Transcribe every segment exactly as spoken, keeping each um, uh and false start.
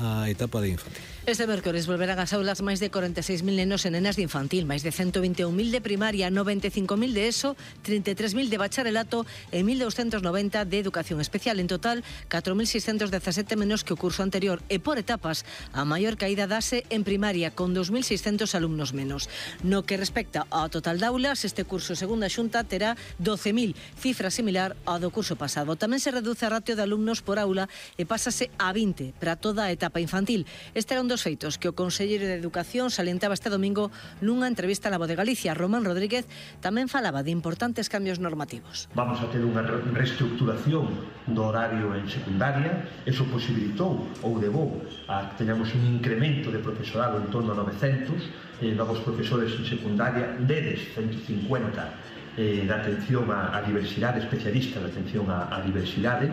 a etapa de infantil. Este mércores volverán ás aulas máis de corenta e seis mil nenos e nenas de infantil, máis de ciento vinte e un mil de primaria, noventa e cinco mil de ESO, trinta e tres mil de bacharelato e mil douscentos noventa de educación especial. En total, catro mil seiscentos dezasete menos que o curso anterior e por etapas a maior caída dase en primaria con dous mil seiscentos alumnos menos. No que respecta ao total de aulas, este curso, segundo a Xunta, terá doce mil, cifra similar ao do curso pasado. Tamén se reduce a ratio de alumnos por aula e pásase a vinte para toda a etapa infantil. Este era un dos feitos que o conselleiro de Educación salientaba este domingo nunha entrevista na Voz de Galicia. Román Rodríguez tamén falaba de importantes cambios normativos. Vamos a ter unha reestructuración do horario en secundaria. Eso posibilitou ou levou a que teñamos un incremento de profesorado en torno a novecentos eh, novos profesores en secundaria, deles ciento cincuenta eh, de atención á, a diversidade, especialistas de atención á, á diversidade.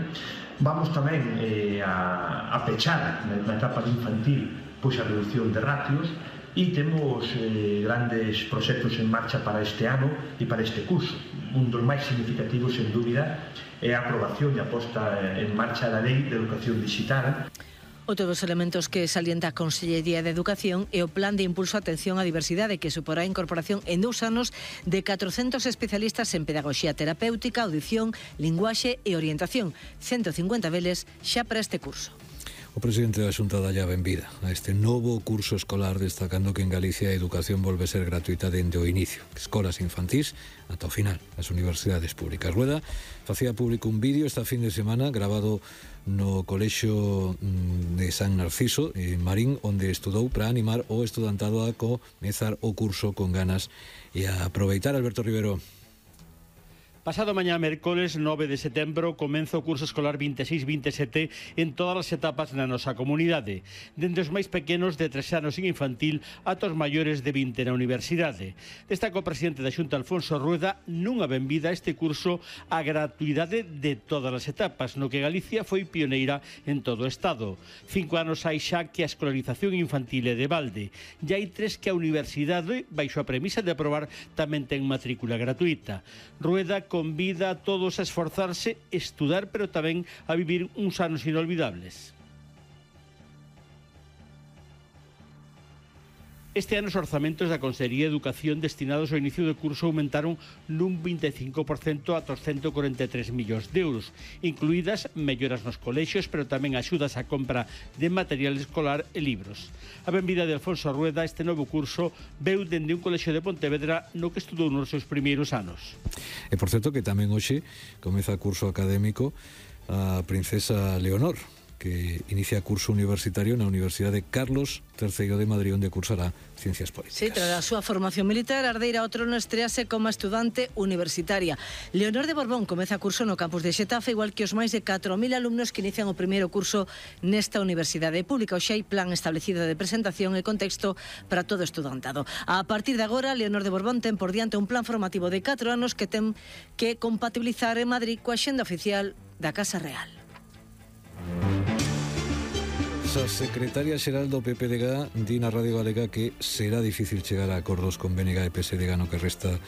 Vamos tamén eh, a, a pechar na, na etapa de infantil pois a reducción de ratios e temos eh, grandes proxectos en marcha para este ano e para este curso. Un dos máis significativos, sen dúbida, é a aprobación e a posta en marcha da Lei de Educación Digital. Outro dos elementos que salienta a Consellería de Educación é o Plan de Impulso á Atención á Diversidade, que suporá a incorporación en dous anos de catrocentos especialistas en pedagogía terapéutica, audición, linguaxe e orientación. ciento cincuenta deles xa para este curso. O presidente da Xunta dalle a benvida a este novo curso escolar, destacando que en Galicia a educación volve a ser gratuita dende o inicio, escolas infantís ata o final, as universidades públicas. Rueda facía público un vídeo esta fin de semana grabado no Colexio de San Narciso, en Marín, onde estudou para animar o estudantado a comezar o curso con ganas e a aproveitar. Alberto Rivero. Pasado mañá, mércoles nove de setembro, comeza o curso escolar vinte e seis vinte e sete en todas as etapas na nosa comunidade, dende os máis pequenos de tres anos en infantil ata os maiores de vinte na universidade. Destaca o presidente da Xunta, Alfonso Rueda, nunha benvida a este curso a gratuidade de todas as etapas, no que Galicia foi pioneira en todo o Estado. Cinco anos hai xa que a escolarización infantil é de balde, e hai tres que a universidade, baixo a premisa de aprobar, tamén ten matrícula gratuita. Rueda convida a todos a esforzarse, estudar, pero tamén a vivir uns anos inolvidables. Este ano os orzamentos da Consellería de Educación destinados ao inicio do curso aumentaron nun vinte e cinco por cento ata os ciento corenta e tres millóns de euros, incluídas melloras nos colexios, pero tamén axudas á compra de material escolar e libros. A benvida de Alfonso Rueda a este novo curso veu dende un colexio de Pontevedra no que estudou nos seus primeiros anos. E por certo que tamén hoxe comeza o curso académico a princesa Leonor, que inicia curso universitario na Universidade Carlos terceiro de Madrid, onde cursará Ciencias Políticas. Sí, tras a súa formación militar, a herdeira ao trono estrease como estudante universitaria. Leonor de Borbón comeza curso no campus de Xetafe, igual que os máis de catro mil alumnos que inician o primeiro curso nesta universidade pública. Hoxe hai plan establecido de presentación e contexto para todo estudantado. A partir de agora, Leonor de Borbón ten por diante un plan formativo de catro anos que ten que compatibilizar en Madrid coa xenda oficial da Casa Real. A secretaria xeral do P P D G di na Radio Galega que será difícil chegar a acordos con B N G e P S D G no que resta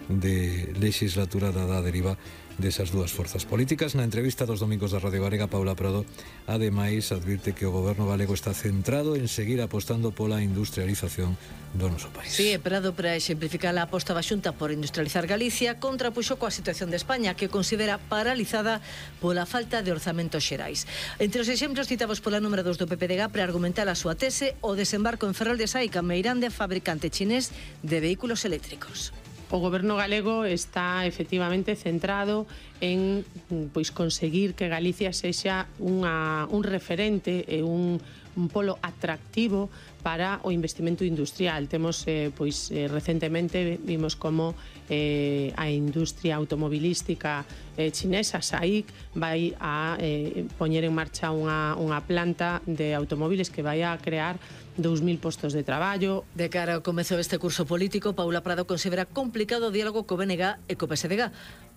de legislatura dada a deriva desas dúas forzas políticas. Na entrevista dos domingos da Radio Galega, Paula Prado ademais advirte que o goberno galego está centrado en seguir apostando pola industrialización do noso país. Sí, Prado, para exemplificar a aposta da Xunta por industrializar Galicia, contrapuxo coa situación de España, que considera paralizada pola falta de orzamentos xerais. Entre os exemplos citados pola número dos do P P D G para argumentar a súa tese, o desembarco en Ferrol de Saica, Meirande, fabricante chinés de vehículos eléctricos. O goberno galego está efectivamente centrado en pois conseguir que Galicia sexa unha, un referente e un, un polo atractivo para o investimento industrial. Temos, eh, pois, eh, recentemente vimos como eh, a industria automobilística eh, chinesa, S A I C, vai a eh, poñer en marcha unha, unha planta de automóviles que vai a crear dous mil postos de traballo. De cara ao comezo deste curso político, Paula Prado considera complicado o diálogo co B N G e co P S D G.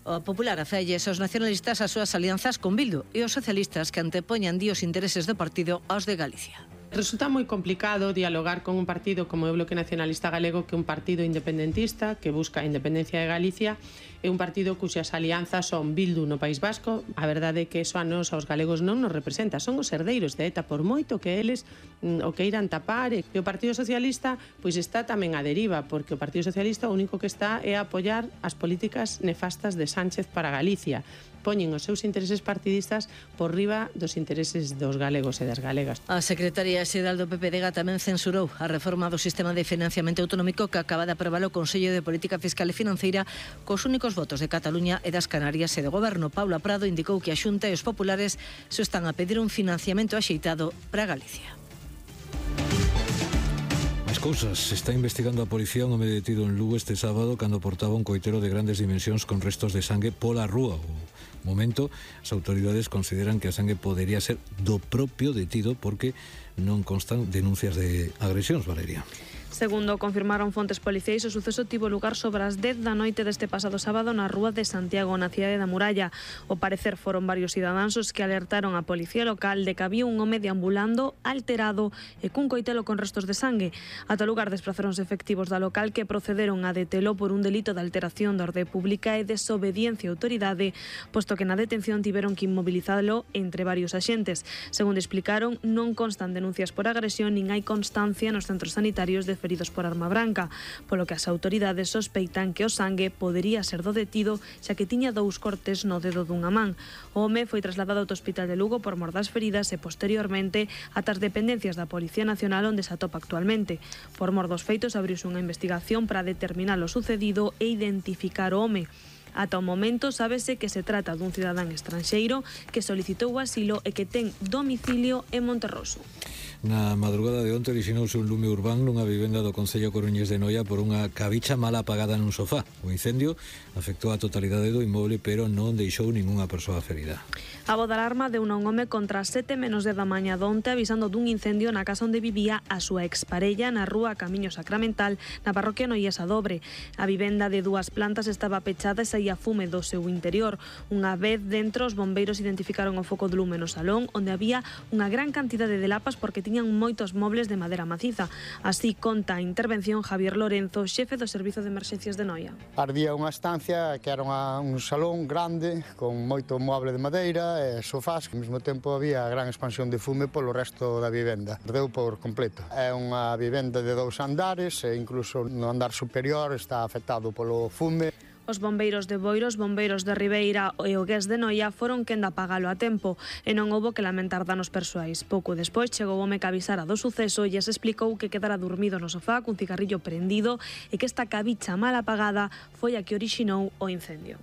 O Popular afelles aos nacionalistas as súas alianzas con Bildu e os socialistas que antepoñan di os intereses do partido aos de Galicia. Resulta moi complicado dialogar con un partido como o Bloque Nacionalista Galego, que é un partido independentista que busca a independencia de Galicia, é un partido cuxas alianzas son Bildu no País Vasco. A verdade é que eso a nos, aos galegos, non nos representa, son os herdeiros de ETA, por moito que eles mm, o que irán tapar. E o Partido Socialista pois está tamén a deriva, porque o Partido Socialista o único que está é a apoiar as políticas nefastas de Sánchez para Galicia. Poñen os seus intereses partidistas por riba dos intereses dos galegos e das galegas. A secretaria xeral do P P D G tamén censurou a reforma do sistema de financiamento autonómico que acaba de aprobar o Consello de Política Fiscal e Financeira cos únicos votos de Cataluña e das Canarias e do Goberno. Paula Prado indicou que a Xunta e os populares se están a pedir un financiamento axeitado para Galicia. Máis cousas. Se está investigando a policía un home detido en Lugo este sábado cando portaba un coitero de grandes dimensións con restos de sangue pola rúa. O momento, as autoridades consideran que a sangue podería ser do propio detido porque non constan denuncias de agresións, Valeria. Segundo confirmaron fontes policiais, o suceso tivo lugar sobre as dez da noite deste pasado sábado na rúa de Santiago, na cidade da Muralla. Ao parecer foron varios cidadáns os que alertaron a policía local de que había un home deambulando alterado e cun coitelo con restos de sangue. Ata o lugar desplazaronse efectivos da local que procederon a detelo por un delito de alteración da orde pública e desobediencia á autoridade, posto que na detención tiveron que inmobilizalo entre varios axentes. Segundo explicaron, non constan denuncias por agresión nin hai constancia nos centros sanitarios de feridos por arma branca, polo que as autoridades sospeitan que o sangue podería ser do detido, xa que tiña dous cortes no dedo dunha man. O home foi trasladado ao Hospital de Lugo por mor das feridas e posteriormente ata as dependencias da Policía Nacional onde se atopa actualmente. Por mor dos feitos abriuse unha investigación para determinar o sucedido e identificar o home. Ata o momento sábese que se trata dun cidadán estranxeiro que solicitou o asilo e que ten domicilio en Monterroso. Na madrugada de onte orixinouse un lume urbán nunha vivenda do Concello Coruñés de Noia por unha cabicha mal apagada nun sofá. O incendio afectou a totalidade do inmoble, pero non deixou ningunha persoa ferida. A voz de alarma deu un home contra as sete menos dez da mañá donte avisando dun incendio na casa onde vivía a súa exparella na rúa Camiño Sacramental, na parroquia Noiesa Dobre. A vivenda de dúas plantas estaba pechada e saía fume do seu interior. Unha vez dentro, os bombeiros identificaron o foco de lume no salón, onde había unha gran cantidade de lapas porque tiñan moitos mobles de madeira maciza. Así conta a intervención Javier Lorenzo, xefe do Servizo de Emerxencias de Noia. Ardía unha estancia que era unha, un salón grande con moito moble de madeira e sofás, que ao mesmo tempo había gran expansión de fume polo resto da vivenda. Ardeu por completo. É unha vivenda de dous andares e incluso no andar superior está afectado polo fume. Os bombeiros de Boiro, os bombeiros de Ribeira e o Gués de Noia foron quen de apagalo a tempo e non houbo que lamentar danos persoais. Pouco despois chegou o home que avisara do suceso e se explicou que quedara dormido no sofá cun cigarrillo prendido e que esta cabicha mal apagada foi a que orixinou o incendio.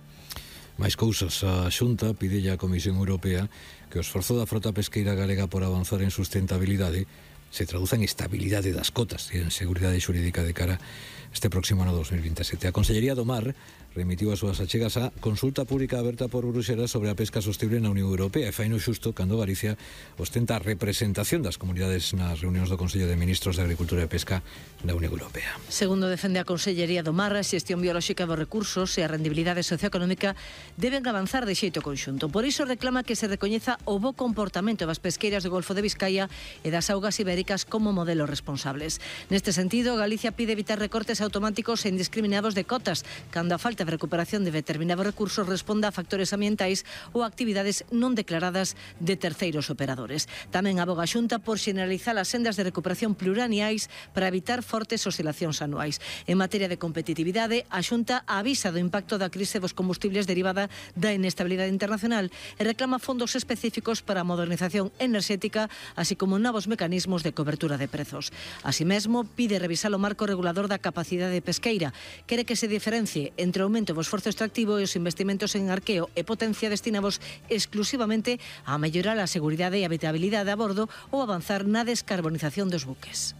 Máis cousas. A Xunta pide á Comisión Europea que o esforzo da frota pesqueira galega por avanzar en sustentabilidade se traduza en estabilidade das cotas e en seguridade xurídica de cara este próximo ano dos mil veintisiete. A Consellería do Mar remitiu as súas achegas á consulta pública aberta por Bruxelas sobre a pesca sostible na Unión Europea e faino xusto cando Galicia ostenta a representación das comunidades nas reunións do Consello de Ministros de Agricultura e Pesca da Unión Europea. Segundo defende a Consellería do Mar, a xestión biolóxica dos recursos e a rendibilidade socioeconómica deben avanzar de xeito conxunto. Por iso reclama que se recoñeza o bo comportamento das pesqueiras do Golfo de Vizcaya e das augas ibéricas como modelos responsables. Neste sentido, Galicia pide evitar recortes automáticos e indiscriminados de cotas, cando a falta de recuperación de determinados recursos responda a factores ambientais ou actividades non declaradas de terceiros operadores. Tamén aboga a Xunta por xeneralizar as sendas de recuperación plurianuais para evitar fortes oscilacións anuais. En materia de competitividade, a Xunta avisa do impacto da crise dos combustibles derivada da inestabilidade internacional e reclama fondos específicos para a modernización enerxética, así como novos mecanismos de cobertura de prezos. Así mesmo, pide revisar o marco regulador da capacidade pesqueira. Quere que se diferencie entre o aumento do esforzo extractivo e os investimentos en arqueo e potencia destinados exclusivamente a mellorar a seguridade e habitabilidade a bordo ou avanzar na descarbonización dos buques.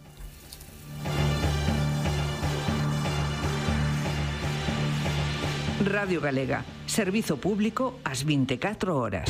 Radio Galega, servizo público ás vinte e catro horas.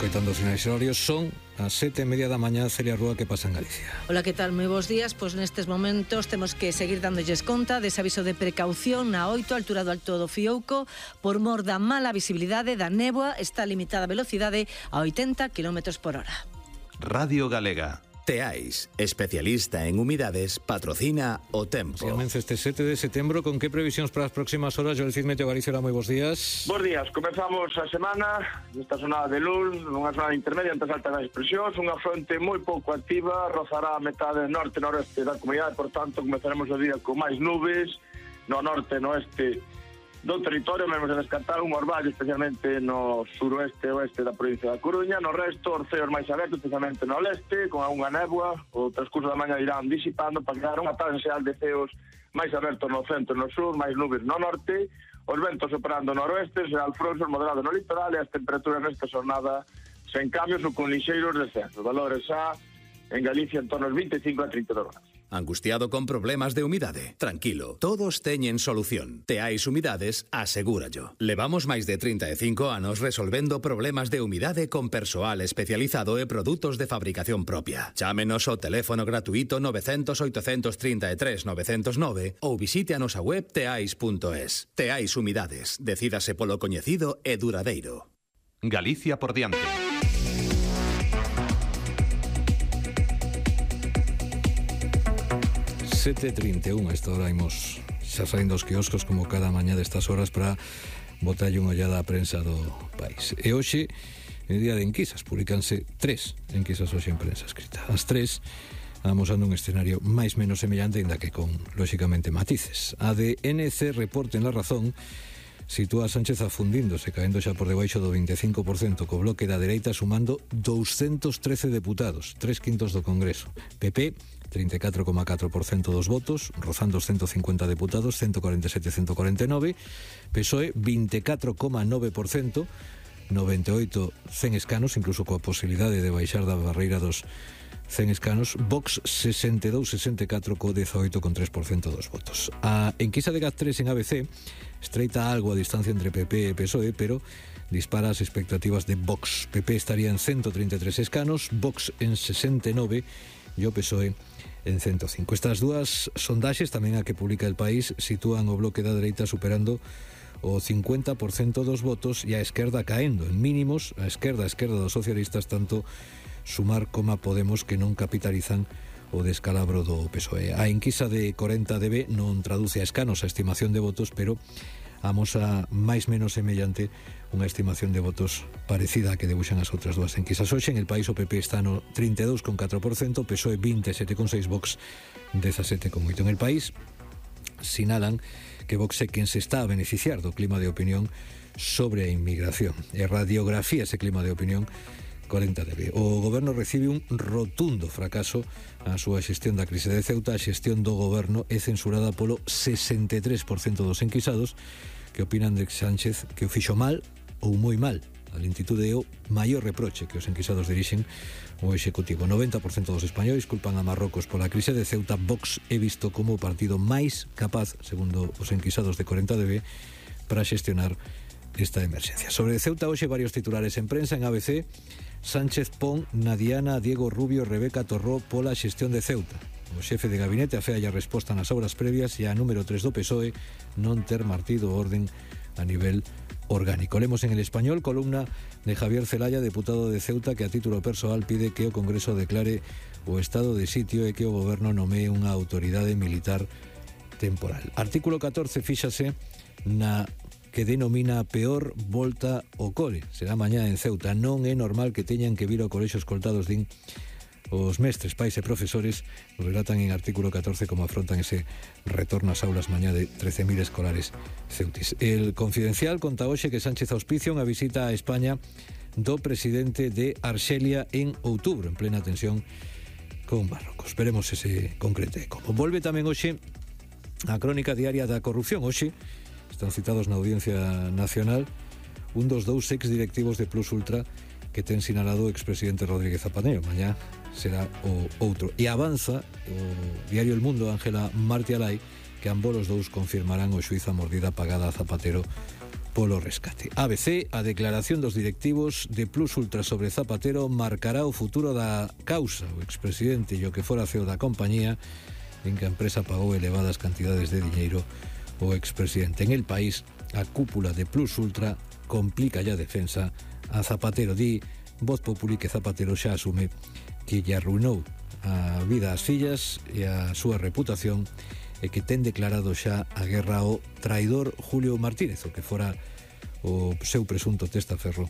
escoitando os sinais horarios. Son as sete e media da mañá. Celia Rúa, que pasa en Galicia? Hola, que tal? Moi bons días. Pois nestes momentos temos que seguir dándolles conta dese aviso de precaución na oito, altura do Alto do Fiouco, por mor da mala visibilidade da néboa. Está limitada a velocidade a oitenta kilómetros por hora. Radio Galega. Teais, especialista en humidades, patrocina o tempo. Se comeza este sete de setembro, con que previsións para as próximas horas? Joel Cid, Meteo Galicia, moi bons días. Bos días, comezamos a semana nesta sonada de luz, nunha sonada intermedia entre as altas das presións, unha fronte moi pouco activa, rozará a metade norte-noreste da comunidade, por tanto comezaremos o día con máis nubes, no norte e no oeste do territorio, mesmo se descartar un orvallo, especialmente no suroeste e oeste da provincia da Coruña. No resto, orceos máis abertos, especialmente no leste, con algunha néboa. O transcurso da mañá irán disipando para crear unha tarde xeral de ceos máis abertos no centro e no sur, máis nubes no norte, os ventos operando no noroeste, será alfronsos moderado no litoral, e as temperaturas nesta jornada sen cambios ou con lixeiros descensos. Valores xa en Galicia en torno aos vinte e cinco a trinta e dos grados. Angustiado con problemas de humidade? Tranquilo, todos teñen solución. Teais Humidades asegúrallo. Levamos máis de trinta e cinco anos resolvendo problemas de humidade con persoal especializado e produtos de fabricación propia. Chámenos ao teléfono gratuito nove cero cero, oito tres tres, nove cero nove ou visite a nosa web teais punto es. Teais Humidades, decídase polo coñecido e duradeiro. Galicia por diante. sete e trinta e un, a esta hora imos xa saindo os quioscos como cada mañá destas horas para botalle unha ollada á prensa do país. E hoxe, en día de enquisas, publicanse tres enquisas hoxe en prensa escrita. As tres amosando un escenario máis menos semellante, ainda que con, lóxicamente, matices. A de N C Reporte en La Razón sitúa a Sánchez afundíndose, caendo xa por debaixo do vinte e cinco por cento, co bloque da dereita sumando doscientos trece deputados, tres quintos do Congreso. P P, trinta e catro coma catro por cento dos votos, rozando os ciento cincuenta deputados, ciento cuarenta e sete a ciento cuarenta e nove. P S O E, vinte e catro coma nove por cento, noventa e oito cen escanos, incluso coa posibilidade de baixar da barreira dos cen escanos. Vox, sesenta e dous a sesenta e catro, co dezaoito coma tres por cento dos votos. A enquisa de GAT tres en A B C estreita algo a distancia entre P P e P S O E, pero dispara as expectativas de Vox. P P estaría en ciento treinta e tres escanos, Vox en sesenta e nove e o P S O E en ciento cinco. Estas dúas sondaxes, tamén a que publica El País, sitúan o bloque da dereita superando o cincuenta por cento dos votos e a esquerda caendo en mínimos. A esquerda, a esquerda dos socialistas, tanto Sumar como a Podemos, que non capitalizan o descalabro do P S O E. A enquisa de corenta D B non traduce a escanos a estimación de votos, pero amosa máis menos semellante unha estimación de votos parecida a que debuxan as outras dúas enquisas. Hoxe en El País o P P está no trinta e dous coma catro por cento, P S O E vinte e sete coma seis, Vox dezasete coma oito. En El País sinalan que Vox é quen se está a beneficiar do clima de opinión sobre a inmigración e radiografía ese clima de opinión corenta D B. O goberno recibe un rotundo fracaso a súa xestión da crise de Ceuta. A xestión do goberno é censurada polo sesenta e tres por cento dos enquisados, que opinan de Sánchez que o fixo mal ou moi mal. A lentitude é o maior reproche que os enquisados dirixen o Executivo. noventa por cento dos españois culpan a Marrocos pola crise de Ceuta. Vox é visto como o partido máis capaz, segundo os enquisados de corenta D B, para xestionar esta emerxencia. Sobre Ceuta, hoxe varios titulares en prensa. En A B C, Sánchez pon na diana a Diego Rubio, Rebeca Torró pola xestión de Ceuta. O xefe de gabinete afea a resposta nas obras previas e a número tres do P S O E non ter martido orden a nivel orgánico. Lemos en El Español, columna de Javier Celaya, deputado de Ceuta, que a título persoal pide que o Congreso declare o estado de sitio e que o goberno nomee unha autoridade militar temporal. Artículo catorce, fíxase na que denomina a peor volta ao cole. Será mañá en Ceuta. Non é normal que teñan que vir ao colexio escoltados, din os mestres, pais e profesores. Relatan en artículo catorce como afrontan ese retorno ás aulas mañá de trece mil escolares ceutis. El Confidencial conta hoxe que Sánchez auspicia unha visita a España do presidente de Arxelia en outubro, en plena tensión con Marrocos. Veremos ese concrete como. Volve tamén hoxe a crónica diaria da corrupción. Hoxe están citados na Audiencia Nacional un dos dous ex directivos de Plus Ultra que ten sinalado o expresidente Rodríguez Zapatero. Mañá será o outro. E avanza o diario El Mundo, Ángela Martialay, que ambos os dous confirmarán o xuízo a mordida pagada a Zapatero polo rescate. A B C, a declaración dos directivos de Plus Ultra sobre Zapatero marcará o futuro da causa. O expresidente e o que fora C E O da compañía, en que a empresa pagou elevadas cantidades de diñeiro o expresidente. En El País, a cúpula de Plus Ultra complica ya a defensa a Zapatero. Di Voz Populi que Zapatero xa asume que lle arruinou a vida ás fillas e a súa reputación e que ten declarado xa a guerra ao traidor Julio Martínez, o que fora o seu presunto testaferro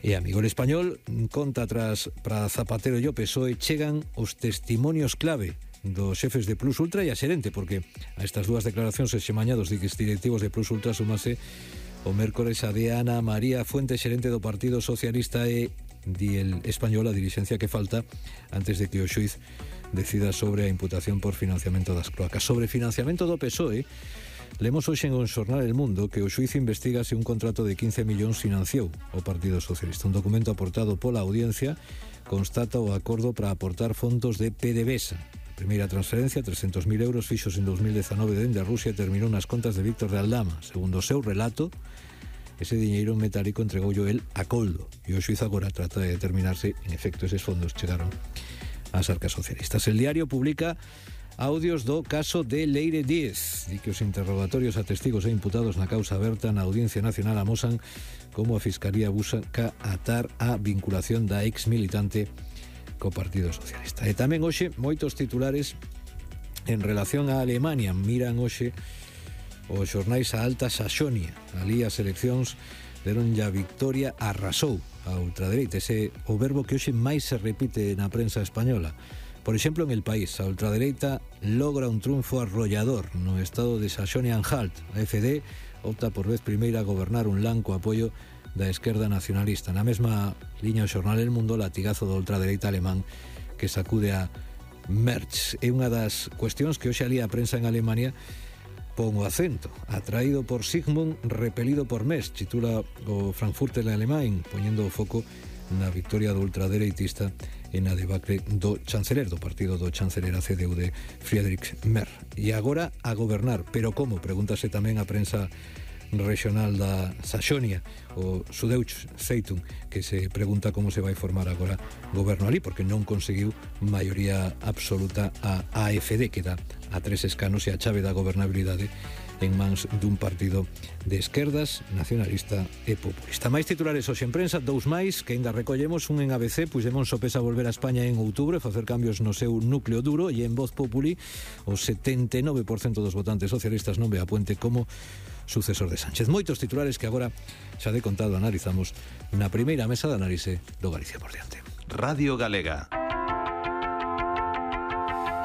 e amigo. El Español conta atrás para Zapatero e o P S O E chegan os testimonios clave dos xefes de Plus Ultra e a xerente, porque a estas dúas declaracións este mañá dos directivos de Plus Ultra sumase o mércores a de Ana María Fuente, xerente do Partido Socialista, e di El Español a dirixencia que falta antes de que o xuiz decida sobre a imputación por financiamento das cloacas. Sobre financiamento do P S O E, lemos hoxe en o xornal El Mundo que o xuiz investiga se un contrato de quince millóns financiou o Partido Socialista. Un documento aportado pola audiencia constata o acordo para aportar fondos de PDVSA. A primeira transferencia, trescentos mil euros, fixos en dos mil dezanove dende a Rusia, terminou nas contas de Víctor de Aldama. Segundo o seu relato, ese diñeiro metálico entregoullo el a Coldo, e o xuiz agora trata de determinarse en efecto eses fondos chegaron ás arcas socialistas. El Diario publica audios do caso de Leire Díez. Di que os interrogatorios a testigos e imputados na causa aberta na Audiencia Nacional amosan como a Fiscalía busca atar a vinculación da ex militante co Partido Socialista. E tamén hoxe moitos titulares en relación a Alemania. Miran hoxe os xornais a Alta Saxonia. Ali as eleccións deron ya victoria, arrasou a ultradereita. Ese o verbo que hoxe máis se repite na prensa española. Por exemplo, en El País, a ultradereita logra un triunfo arrollador no estado de Saxonia-Anhalt. A F D opta por vez primeira a gobernar un land co apoio da esquerda nacionalista. Na mesma liña o xornal El Mundo, latigazo da ultradereita alemán que sacude a Merz. É unha das cuestións que hoxe ali a prensa en Alemania pon o acento. Atraído por Sigmund, repelido por Merz, titula o Frankfurter Alemán, poñendo o foco na victoria do ultradereitista e na debacle do chanceler do partido do chanceler a C D U de Friedrich Merz. E agora a gobernar, pero como? Pregúntase tamén a prensa regional da Saxonia, o Süddeutsche Zeitung, que se pregunta como se vai formar agora goberno ali, porque non conseguiu maioría absoluta a A F D, que dá a tres escanos e a chave da gobernabilidade en mans dun partido de esquerdas, nacionalista e populista. Máis titulares hoxe en prensa, dous máis que ainda recollemos, un en A B C, Puigdemont sopesa volver a España en outubro e facer cambios no seu núcleo duro, e en Voz Populi o setenta e nove por cento dos votantes socialistas non ve a Puente como sucesor de Sánchez. Moitos titulares que agora xa de contado analizamos na primeira mesa de análise do Galicia por diante. Radio Galega.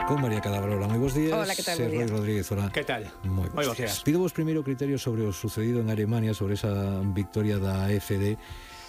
Con María Cadabrola, moi bons días. Hola, que tal? Ser Roi Rodríguez, hola. Que tal? Moi bons días. Pido vos primeiro criterio sobre o sucedido en Alemania, sobre esa victoria da A F D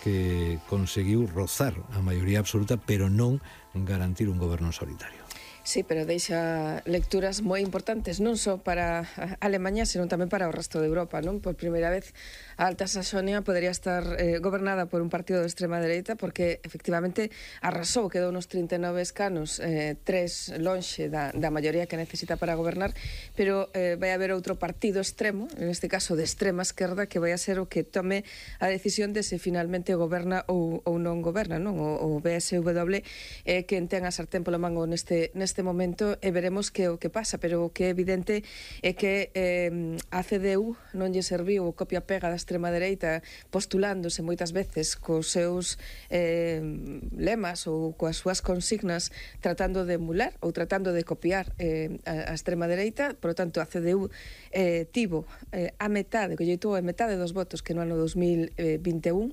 que conseguiu rozar a maioría absoluta, pero non garantir un goberno solitario. Sí, pero deixa lecturas moi importantes, non só para Alemanha, senón tamén para o resto de Europa, non? Por primeira vez, a Alta Saxonia podería estar eh, gobernada por un partido de extrema dereita, porque efectivamente arrasou, quedou nos trinta e nove escanos, eh, tres lonxe da, da maioría que necesita para gobernar, pero eh, vai haber outro partido extremo, en este caso de extrema esquerda, que vai a ser o que tome a decisión de se finalmente goberna ou, ou non goberna, non? O, o B S W eh, que ten a sartén polo mango neste, neste momento, e veremos que o que pasa, pero o que é evidente é que eh, a C D U non lle serviu o copia-pega da extrema dereita, postulándose moitas veces cos seus eh, lemas ou coas súas consignas, tratando de emular ou tratando de copiar eh, a, a extrema dereita. Por lo tanto, a C D U eh, tivo eh, a metade, que lle tuvo a metade dos votos que no ano dos mil vinte e un,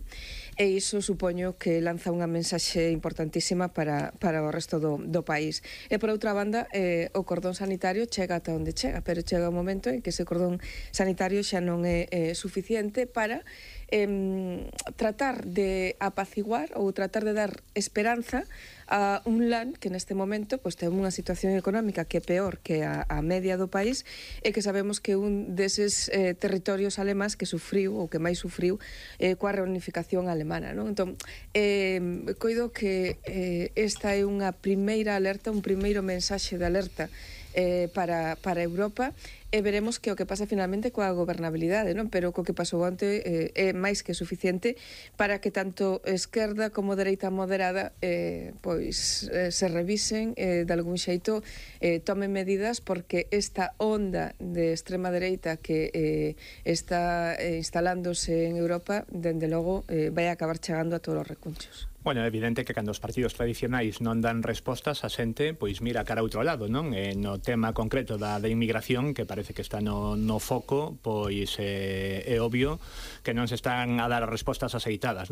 e iso supoño que lanza unha mensaxe importantísima para, para o resto do, do país. E por outra banda, eh, o cordón sanitario chega ata onde chega, pero chega un momento en que ese cordón sanitario xa non é eh, suficiente para eh, tratar de apaciguar ou tratar de dar esperanza a un land que neste momento pues, ten unha situación económica que é peor que a, a media do país, e que sabemos que un deses eh, territorios alemáns que sufriu ou que máis sufriu eh, coa reunificación alemana, non? Entón, eh, coido que eh, esta é unha primeira alerta, un primeiro mensaxe de alerta eh, para, para Europa, e veremos que o que pasa finalmente coa gobernabilidade, non? Pero co que pasou onte eh, é máis que suficiente para que tanto esquerda como dereita moderada eh, pois eh, se revisen eh, de algún xeito, eh, tomen medidas, porque esta onda de extrema dereita que eh, está eh, instalándose en Europa, dende logo eh, vai acabar chegando a todos os recunchos. Bueno, é evidente que cando os partidos tradicionais non dan respostas, a xente pois mira cara a outro lado, non? E no tema concreto da, da inmigración, que parece que está no, no foco, pois eh, é obvio que non se están a dar respostas aceitadas, non?